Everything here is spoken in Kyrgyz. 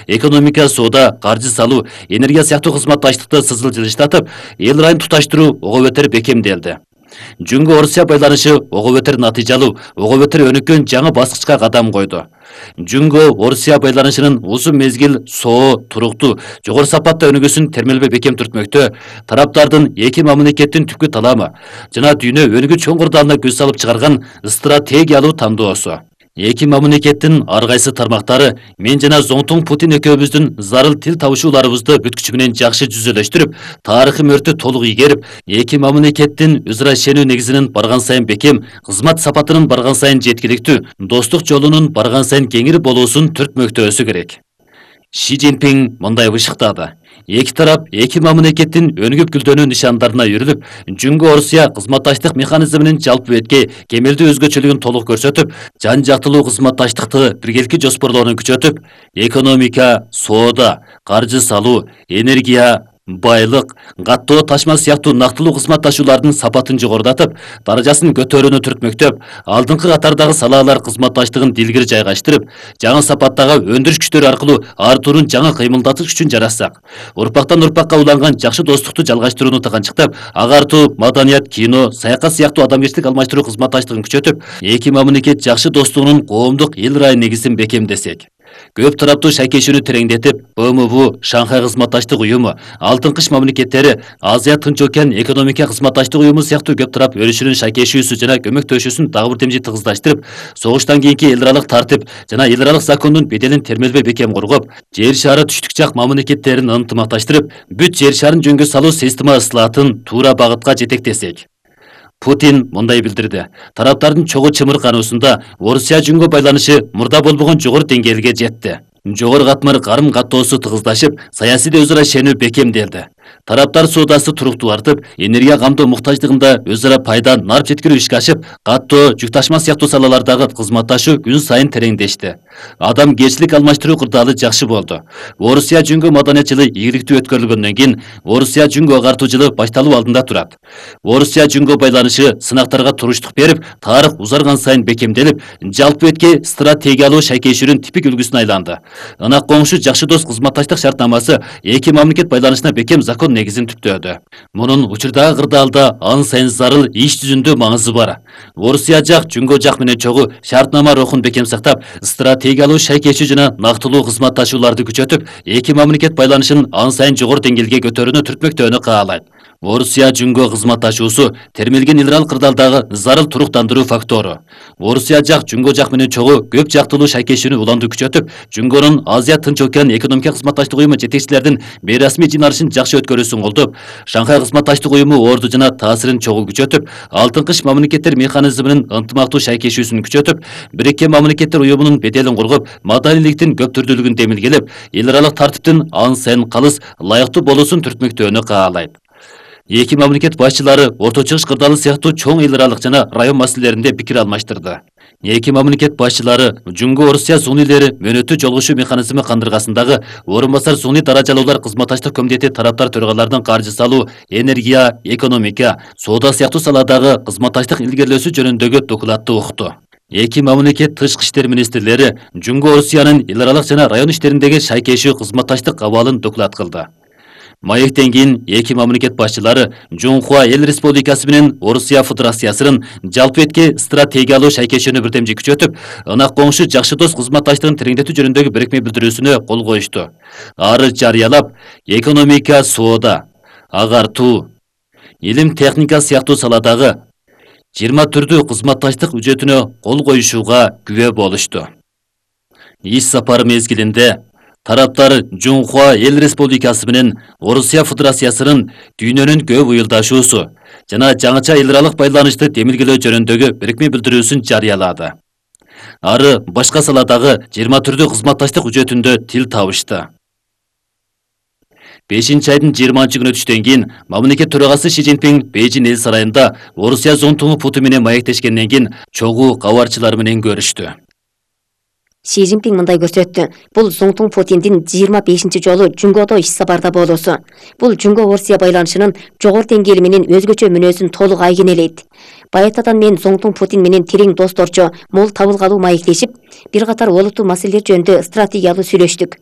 Экономика, соода, каржы салуу, энергия сыяктуу кызматташтыкты сызыл жылыштатып, эл райын туташтыруу ого бетер бекемделди. Жөнгө Орусия байланышы ого бетер натыйжалуу, ого бетер өнүккөн жаңы баскычка кадам койду. Жөнгө Орусия байланышынын узун мезгил соо, туруктуу, жогору сапатта өнүгүүсүн термелбей бекем түртмөктө, тараптардын эки мамлекеттин түпкү таламы жана дүйнө өнүгүү чоңгурдалына көз салып чыгарган стратегиялуу тандоосу. Эки мамлекеттин ар кайсы тармактары мен жана Зоңтуң Путин экөөбүздүн зарыл тил табышууларыбызды бүткүчү менен жакшы жүзөлөштүрүп, тарыхый мөрдү толук ийгерип, эки мамлекеттин өз ара ишенүү негизинин барган сайын бекем, кызмат сапатынын барган сайын жеткиликтүү, достук жолунун барган сайын кеңири болуусун түртмөктөөсү керек. Ши Цзиньпин мындай бышыктады. Эки тарап эки мамлекеттин өнүгүп гүлдөнүү нишандарына үйрүлүп, Жөнгө Орусия кызматташтык механизминин жалпы бетке кемелдүү өзгөчөлүгүн толук көрсөтүп, жан жактылуу кызматташтыкты биргеликти жоспорлоону күчөтүп, экономика, соода, каржы салуу, энергия, байлык, каттоо ташма сыяктуу нактылуу кызматташуулардын сапатын жогорулатып, даражасын көтөрүүнү түртмөктөп, алдыңкы катардагы салаалар кызматташтыгын дилгири жайгаштырып, жаңы сапаттагы өндүрүш күчтөрү аркылуу артуурун жаңы кыймылдатыш күчүн жаратсак, урпактан урпакка уланган жакшы достукту жалгаштырууну тыганчыктап, агартуу, маданият, кино, саякат сыяктуу адамгерчилик алмаштыруу кызматташтыгын күчөтүп, эки мамлекет жакшы достугунун коомдук эл райын негизин бекемдесек, көп тараптуу шайкешүүнү тереңдетип, БМВ, Шанхай кызматташтык уюму, Алтын кыш мамлекеттери, Азия Тынч океан экономика кызматташтык уюму сыяктуу көп тарап өрүшүнүн шайкешүүсү жана көмөктөшүүсүн дагы бир демжи тыгыздаштырып, согуштан кийинки эл аралык тартип жана эл аралык закондун беделин термелбей бекем коргоп, жер шары түштүк жак мамлекеттерин ынтымакташтырып, бүт жер шарын жөнгө салуу система ысылатын туура багытка жетектесек. Путин мындай билдирди. Тараптардын чогуу чымыркануусунда Орусия Жөнгө байланышы мурда болбогон жогору деңгээлге жетти. Жогору катмар карым каттоосу тыгыздашып, саясий өз ара ишенүү бекемделди. Тараптар соодасы туруктуу артып, энергия камдоо муктаждыгында өз ара пайда нарп жеткирүү ишке ашып, каттоо, жүк ташма сыяктуу салалардагы кызматташуу күн сайын тереңдешти. Адамгерчилик алмаштыруу кырдаалы жакшы болду. Орусия Жөнгө маданият жылы ийгиликтүү өткөрүлгөндөн кийин, Орусия Жөнгө агартуу жылы башталуу алдында турат. Орусия Жөнгө байланышы сынактарга туруштук берип, тарых узарган сайын бекемделип, жалпы бетке стратегиялуу шайкешүүнүн типик үлгүсүнө айланды. Ынак коңшу жакшы дос кызматташтык шартнамасы эки мамлекет байланышына бекем закон негизин түптөөдү. Мунун учурдагы кырдаалда ан сайын зарыл иш жүзүндө маңызы бар. Орусия жак Жөнгө жак менен чогуу шартнама рухун бекем сактап, стратегиялуу шайкешүү жана нактылуу кызматташууларды күчөтүп, эки мамлекет байланышын ан сайын жогору деңгээлге көтөрүүнү түртмөктөөнү каалайт. Орусия Жөнгө кызматташуусу термелген эл аралык кырдаалдагы зарыл туруктандыруу фактору. Орусия жак Жөнгө жак менен чогуу көп жактылуу шайкешүүнү уланды күчөтүп, Жөнгөнүн Азия Тынч океан экономика кызматташтык уюму жетекчилердин бейрасмий жыйналышын жакшы өткөрүүсүн колдоп, Шанхай кызматташтык уюму орду жана таасирин чогуу күчөтүп, Алтын кыш мамлекеттер механизминин ынтымактуу шайкешүүсүн күчөтүп, Бириккен мамлекеттер уюмунун беделин коргоп, маданиликтин көп түрдүүлүгүн демилгелеп, эл аралык тартиптин ан сайын калыс, ылайыктуу болуусун түртмөктөөнү каалайт. Эки мамлекет башчылары Орто Чыгыш кырдаалы сыяктуу чоң эл аралык жана район маселелеринде пикир алмаштырды. Эки мамлекет башчылары Жөнгө Орусия сунилери мөөнөттүү жолугушуу механизми кандыргасындагы орун басар суний даражалуулар кызматташтык комитети тараптар төрагалардын каржы салуу, энергия, экономика, соода сыяктуу саладагы кызматташтык илгерилөөсү жөнүндөгү докладты укту. Эки мамлекет тышкы иштер министрлери Жөнгө Орусиянын эл аралык жана район иштериндеги шайкешүү кызматташтык абалын доклад кылды. Маектен кийин эки мамлекет башчылары Жунхуа эл республикасы менен Орусия Федерациясынын жалпы бетке стратегиялуу шайкешүүнү бирдемжи күчөтүп, ынак коңшу жакшы дос кызматташтыгын тереңдетүү жөнүндөгү бирикме билдирүүсүнө кол коюшту. Ары жарыялап, экономика, соода, агартуу, илим техника сыяктуу саладагы 20 түрдүү кызматташтык үчөтүнө кол коюшууга күбө болушту. Иш сапары мезгилинде тараптар Жунхуа эл республикасы менен Орусия Федерациясынын дүйнөнүн көп уюлдашуусу жана жаңыча эл аралык байланышты демилгелөө жөнүндөгү бирикме билдирүүсүн жарыялады. Ары башка саладагы 20 түрдүү кызматташтык үчөтүндө тил табышты. 5-айдын 20-күнү түштөн кийин мамлекет төрагасы Ши Цзиньпин Бейжин эл сарайында Орусия Зоңтуңу Путин менен маектешкенден кийин чогуу кабарчылар менен көрүштү. Ши Цзиньпин мындай көрсөттү. Бул Зоңтуң Путиндин 25 жолу Жөнгөдө иш сапарда болуусу. Бул Жөнгө Орусия байланышынын жогору деңгээли менен өзгөчө мүнөзүн толук айгинелейт. Баятадан мен Зоңтуң Путин менен терең досторчо, мол табылгалуу маектешип, бир катар олуттуу маселелер жөнүндө стратегиялуу сүйлөштүк.